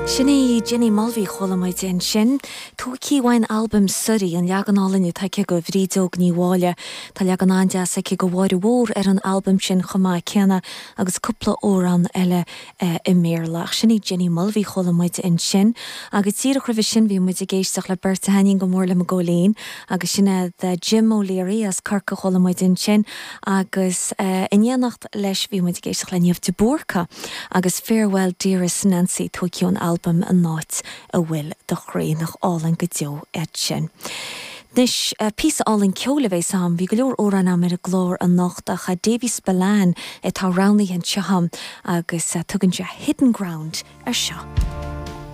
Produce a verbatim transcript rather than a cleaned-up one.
Sin í Jenny Mulvey chuala muid ansin. Tógtha ón albam Suirí an leagan álainn atá aici de Bhrídeog Ní Mháille. Tá leagan an-deas aici de Mháire Mhór ar an albam sin chomh maith céanna agus cúpla amhrán eile eh, i mBéarla. Sin í Jenny Mulvey chuala muid ansin, agus díreach roimhe sin bhí muid ag éisteacht le beirt a thaitníonn go mór liom i gcónaí, agus sin é Jim O'Leary as Corcaigh chuala muid ansin agus uh, in éineacht leis bhí muid ag éisteacht le Niamh de Búrca agus Farewell Dearest Nancy tógtha ón albam an áit a bhfuil do chroí nach álainn go deo é sin. Anois uh, píosa álainn ceoil a bheas agam, bhí go leor amhrán agam ar an gclár anocht ach Davy Spillane atá roghnaithe anseo agam agus uh, tugann sé Hidden Ground ar seo.